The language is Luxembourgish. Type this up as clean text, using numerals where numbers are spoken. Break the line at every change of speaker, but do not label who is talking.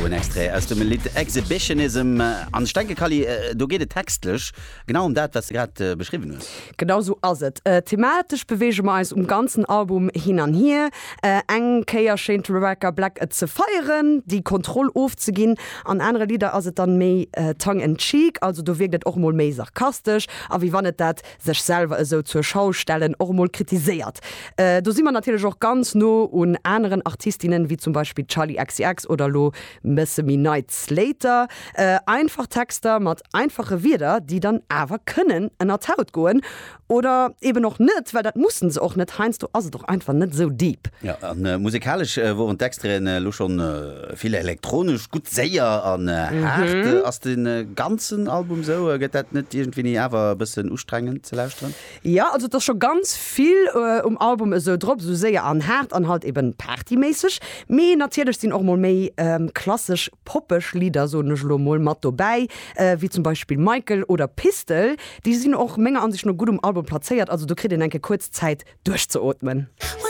Do en Extrait aus dem Lidd Exhibitionism. An ech denke, Kally, do geet et textlech genau ëm dat, wat s de grad beschriwwen hues.
Genau sou ass et. Thematesch beweege mer eis um ganzen Album hin an hier. Eng Kéier schéint Rebecca Black et ze feieren, déi Kontroll ofzeginn. An anere Lidder ass et dann méi tongue in cheek, also do wierkt et och mol méi sarkastesch a wéi wann et dat sech selwer esou zur Schau stellen och emol kritiséiert. Do si mer natierlech och ganz no un aneren Artistinnen, wéi zum Beispill d'Charli XCX oder elo bësse méi nei d'Slater. Einfach Texter mat einfache Wierder, déi dann awer kënnen ënner d'Haut goen. Oder eben och net, well dat mussen se och net. Heiansdo ass et och einfach net esou deep.
Jo, a musekalesch woren d'Extraiten elo schonn vill elektronesch, gutt séier an haart. Ass de ganzen Album sou? Gëtt dat net iergendwéini awer e bëssen ustrengend ze lauschteren?
Jo, also et ass scho ganz vill um Album esou drop, esou séier an haart an halt eben partyméisseg. Mee natierlech sinn och mol méi klassesch poppeg Lidder, soen ech elo mol, mat dobäi, wéi zum Beispill Michael oder Pistol. Déi sinn och menger Ansicht no gutt um Album plazéiert, also do kritt een eng Kéier kuerz Zäit duerchzeootmen.